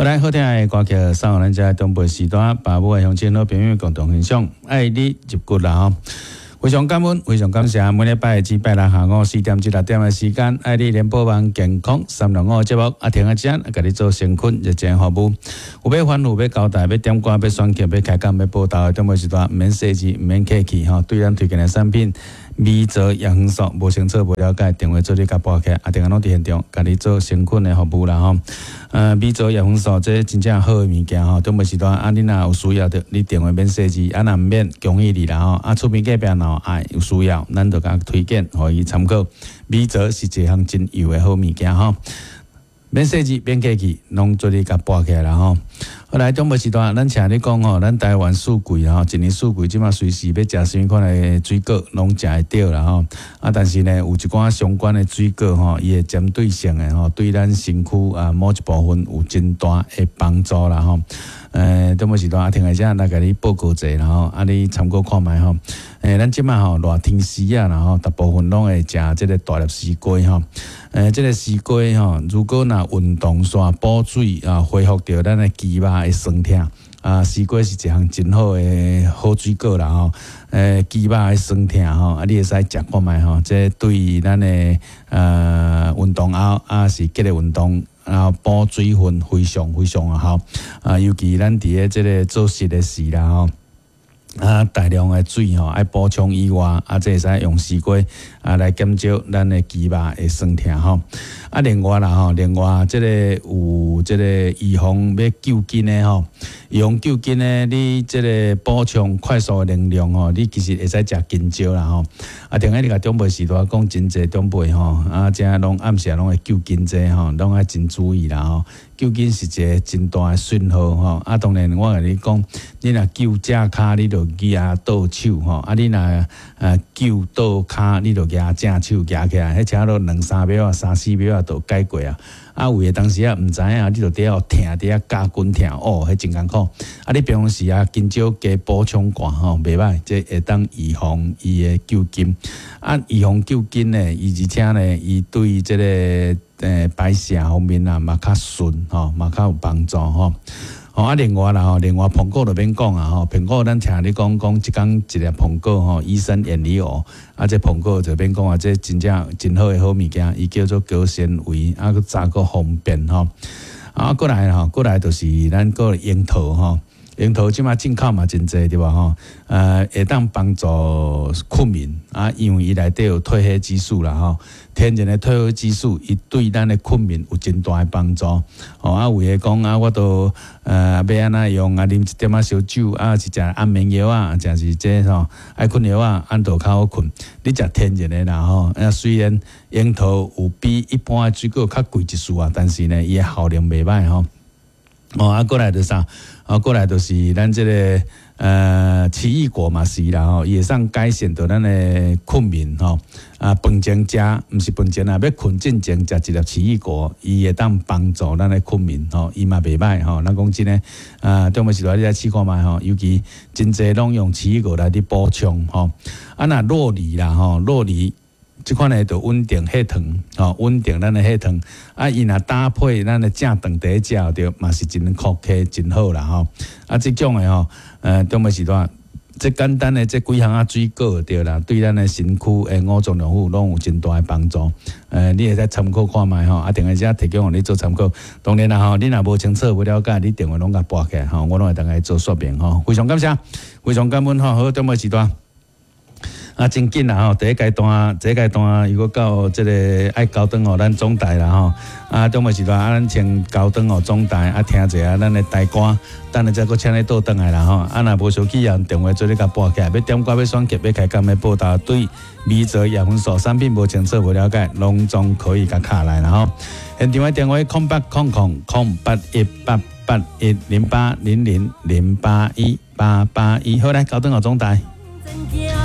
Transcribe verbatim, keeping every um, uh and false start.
好來，好聽的歌曲送予咱遮長輩時段，爸母的鄉親好朋友共同欣賞，愛你入骨啦吼。非常感恩，非常感謝，每禮拜至拜六下午四點至六點的時間，愛你聯播網健康三六五節目，啊，停仔遮，共你做誠懇熱情服務。有欲吩咐，欲交代，欲點歌，欲選曲，欲開講，欲報道的，長輩時段毋免細緻，毋免客氣吼。對咱推薦的產品，米澤葉黃素無清楚無了解，電話做你共撥起來，啊，電話攏佇現場，共你做誠懇的服務啦吼。呃，米澤葉黃素這真正好的物件吼，長輩時段啊，你若有需要著，你電話免細緻，啊，若毋免，恭喜你啦吼。啊，厝邊隔壁若有愛有需要，咱就共推薦，予伊參考。米澤是一項真幼的好物件吼。免細緻，免客氣，攏做你共撥起來啦吼。好來，長輩時段，咱請你講吼，咱台灣四季吼，一年四季這馬隨時欲食啥物款的水果，攏食會著啦吼。啊，但是呢，有一寡相關的水果吼，伊會針對性的吼，對咱身軀啊某一部分有真大的幫助啦吼。呃，長輩時段啊，聽來遮來共你報告者啦吼，啊，你參考看覓吼。欸，咱這馬吼熱天時啊，然後大部分攏會食這個大粒絲瓜吼。欸，這個絲瓜吼，如果若運動煞補水啊，恢復著咱的肌肉的酸痛啊，絲瓜是一項真好的好水果啦吼。欸，肌肉的酸痛吼，啊，你會使食看覓吼，這對咱的呃運動後啊是激烈運動。然後補水分非常非常的好啊，尤其咱佇咧這個做實的時啦吼。啊，大量的水吼，愛補充以外，啊，這會使用絲瓜啊來減少咱的肌肉的酸痛吼。啊，另外啦吼，另外這個有這個預防欲救筋的吼，預防救筋的，你這個補充快速的能量吼，你其實會使食香蕉啦吼。啊，頂下你共長輩時代講真濟長輩吼，啊，遮攏暗時攏會救筋這吼，攏愛真注意啦吼。救筋是一個真大的損耗吼。啊，當然我共你講，你若救正跤，你就舉倒手吼；啊，你若呃救倒跤，你就舉正手舉起來，彼差不多兩三秒啊，三四秒啊，就解決啊。啊，有的當時啊，毋知影，你就佇遐痛，佇遐咬筋痛，哦，彼真艱苦。啊，你平常時啊，香蕉加補充寡吼，袂䆀，這會當預防伊的救筋。啊，預防救筋呢，伊而且呢，伊對這個呃排泄方面啊，嘛較順吼，嘛較有幫助吼。吼啊，另外啦吼，另外蘋果就免講啊吼，蘋果咱聽你講講一工一粒蘋果吼，醫生遠離我。啊，這蘋果就免講啊，這真正真好的好物件，伊叫做高纖維，啊，閣食閣方便吼。啊，過來吼，過來就是咱個櫻桃吼，櫻桃這馬進口嘛真濟對無吼？呃，會當幫助睏眠啊，因為伊內底有褪黑激素啦吼，天然的褪黑激素，伊對咱的睏眠有真大的幫助。吼啊，有的講啊，我都呃欲按怎用啊，啉一點仔燒酒啊，是食安眠藥啊，誠是這吼愛睏藥啊，按就較好睏。你食天然的啦吼，啊雖然櫻桃有比一般的水果較貴一絲啊，但是呢，伊的效能袂䆀吼。哦，啊，過來就啥？啊，過來就是咱這個呃奇異果嘛是啦吼，伊會當改善著咱的睏眠吼。啊，飯前食，毋是飯前啊，欲睏進前食一粒奇異果，伊會當幫助咱的睏眠吼，伊嘛袂䆀吼。咱講真的啊，中午時段你來試看覓吼，尤其真濟攏用奇異果來佇補充吼。啊，若酪梨啦吼，酪梨。這款呢就穩定血糖，吼，穩定咱的血糖。啊，伊若搭配咱的正頓佇食著，嘛是真可客，真好啦吼。啊，這種的吼，呃，中尾時段，這簡單的這幾項仔水果對啦，對咱的身軀的五臟六腑攏有真大的幫助。呃，你會使參考看覓吼，啊，電話遮提供予你做參考。當然啦吼，你若無清楚、無了解，你電話攏共撥起來吼，我攏會當來做說明吼。非常感謝，非常感恩吼。好，中尾時段。啊，真緊啦吼！第一階段，這個階段又閣到這個愛交轉予咱總台啦吼。啊，中尾時段啊，咱先交轉予總台啊，聽一下咱的台歌，等下再閣請你倒轉來啦吼。啊，若無相去啊，電話做你共撥起來，欲點歌、欲選曲、欲開講、欲報道，對米澤葉黃素產品無清楚、無了解，攏總可以共敲來啦吼。現場的電話：空八空空空八一八八一零八零零零八一八八一。好，來交轉予總台。